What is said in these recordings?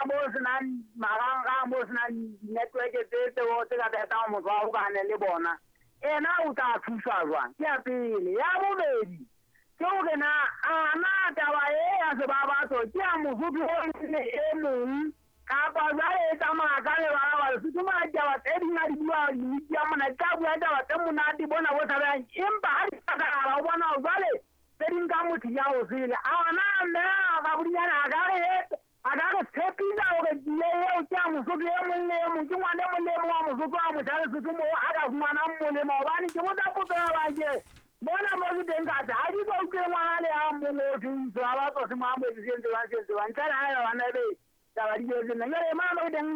Mo senang marangrang, mo senang network tse tseo tse ka thetang motho wa hokane le bona, ena o tla thuswa jwang? Ke ya pele. Ya bobedi ke hore na a na taba e ya sebabatso ke ya Mosotho o mong e mong kapa jwale e tsamaya ka lebala Lesotho mona ditaba tse ding a di bua di-media mona di tla bua taba tse monate bona bo tshabehang, empa ha di hlakahala o bona hore jwale tse ding ka motho ya o sele. A na mme Rabodinyane a ka re a ka re tshepisa hore tsie eo ke ya Mosotho e mong le e mong, ke ngwana e mong le e mong wa Mosotho a motjha Lesotho moo a ka fumanang molemo? Hobane ke botsa potso ya ba ke mona mo ke teng ka tse ha ke so utlwe ngwana le a mong o thweng sebabatso se mo amohetse se entse jwang se entse jwang ntle le haeba bana ebe taba di jetse nna. Jwale mona mo ke teng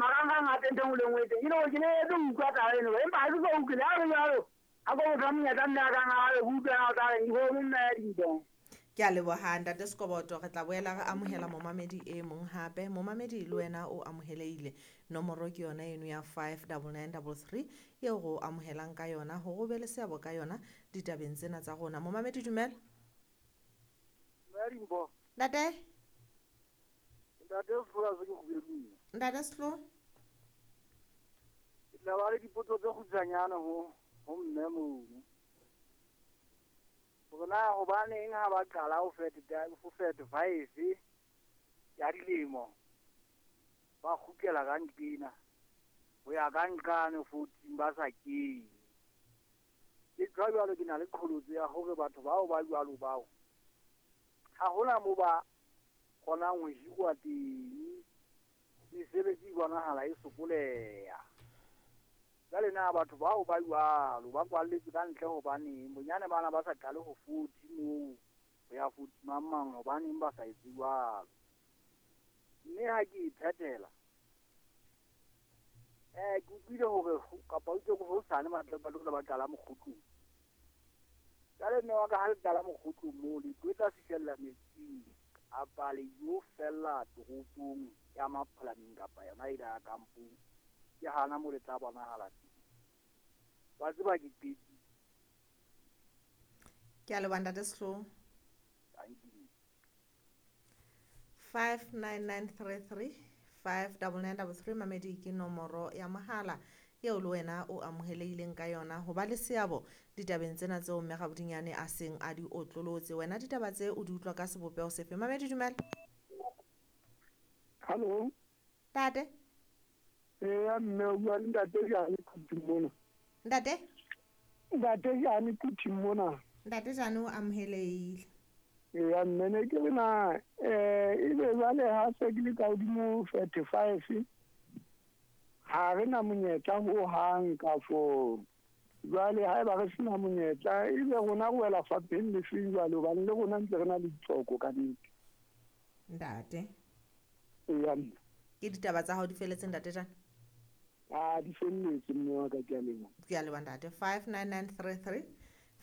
marangrang a teng ntho e nngwe le e nngwe e teng, e le hore ke ne etse ho utlwa taba eno, empa ha ke so utlwe. Le ha ho le jwalo, ha ko motho wa monyetla mme a kang a re utlwe ha o tla reng ke mme ya dintho. Ke a leboha ntate Sekoboto. Re tla boela re amohela momamedi e mong hape. Momamedi le wena o amohelehile. Nomoro ke yona eno ya 59933 eo re o amohelang ka yona hore o be le seabo ka yona ditabeng tsena tsa rona. Momamedi, dumela. Dumela. Ntate. Ntate Sehlola se ke kgubedung. Ntate Sehlo. Ke tla ba le dipotso tse kgutshwanyane ho mme mono. Hore na hobaneng ha ba qala ho 35 ya dilemo ba kgutlela ka nqena ho ya ka nqane 14 ba sa kene. Ke tjho jwalo ke na le qholotso ya hore batho bao ba jwalo bao ha hona mo ba kgonang ho hirwa teng, mesebetsi e bonahala e sokoleha. Jwale na batho bao ba jwalo ba kwalletswe ka ntle hobaneng? Bonyane bana ba sa qale ho 40 moo ho ya 40 mang mang, hobaneng ba sa etse jwalo? Mme ha ke e phethela, ke utlwile hore kapa utlwe hore hosane batho ba tlo ba qala mokgutlong. Jwale mme wa ka ha le qala mokgutlong moo le tlo tla fihlella metsing kapa le yo fella toropong ya Maphalameng kapa yona e ya kampong, ke hana mo le tla bonahala teng. Wa tseba ke qetile. Ke a leboha ntate Sehloho. Thank you. 59933 59933 mamedi ke nomoro ya mohala eo le wena o amohelehileng ka yona ho ba le seabo ditabeng tsena tseo mme Rabodinyane a seng a di otlolotse. Wena ditaba tse o di utlwa ka sebopeho sefe? Mamedi, dumela. Hallo. Ntate. Eya mme, o bua le ntate Jane Quthing mona. Ntate? Ntate Jane Quthing mona. Ntate Jane o amohelehile. Eya mme, ne ke re na ebe jwale ha se ke le ka hodimo 35 ha re na monyetla ho hang ka fo. Jwale haeba re sena monyetla ebe rona re wela fapheng le feng jwale, hobane le rona ntse re na le ditlhoko ka nnete. Ntate. Eya mme. Ke ditaba tsa hao di felletse ntate Jane? A di felletse mme wa ka, ke a leboha. Ke a leboha ntate. 59933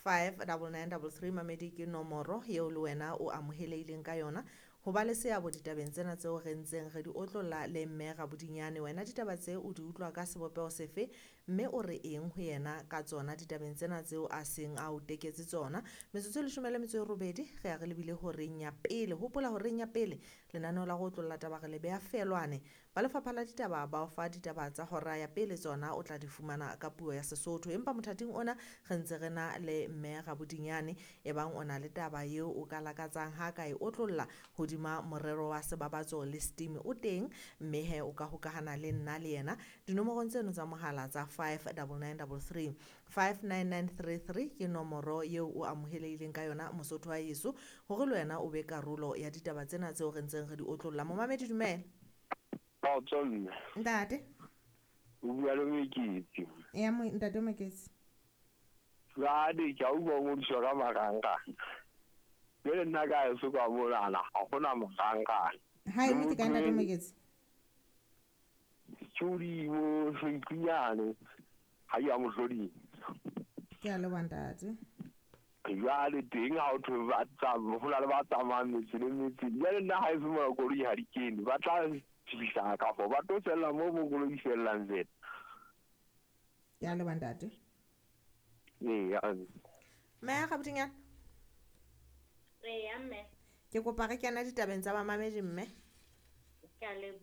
59933 mamedi ke nomoro eo le wena o amohelehileng ka yona ho ba le seabo ditabeng tsena tseo re ntseng re di otlolla le mme Rabodinyane. Wena ditaba tse o di utlwa ka sebopeho sefe mme o re eng ho yena ka tsona ditabeng tsena tseo a seng a o teketse tsona? Metsotso e 18 re ya re lebile horeng ya pele. Hopola horeng ya pele lenaneo la go otlolla taba re le beha felwane. Ba lefapha la ditaba ba o fa ditaba tsa hora ya pele, tsona o tla di fumana ka puo ya Sesotho. Empa mothating ona re ntse re na le mme Rabodinyane, ebang o na le taba eo o ka lakatsang ha ka e otlolla hodima morero wa sebabatso le steam o teng, mme he o ka hokahana le nna le yena dinomorong tseno tsa mohala tsa 59933 59933 ke nomoro eo o amohelehileng ka yona Mosotho wa heso hore le wena o be karolo ya ditaba tsena tseo re ntseng re di otlolla. Momamedi, dumela. Kgotso mme. Ntate. O bua le Moketsi. Ya ntate Moketsi. Jwale ke a utlwa o ngodiswa ka marangrang. Jwale nna ka heso ka monana ha hona marangrang. Ha e motse ka ntate Moketsi. Ke hodimo Senkunyane ha ya mohloding. Ke a leboha ntate. Jwale teng ha o thwe ba ho na le ba tsamayang metse le metse. Jwale nna ha eso mona koloi ha di kene, ba tla fihla ka fo ba tlo fella moo mo koloi fellang fela. Ke a leboha ntate. Eya. Mme Rabodinyane. Eya mme. Ke kopa re kena ditabeng tsa bamamedi mme. Ke a leboha.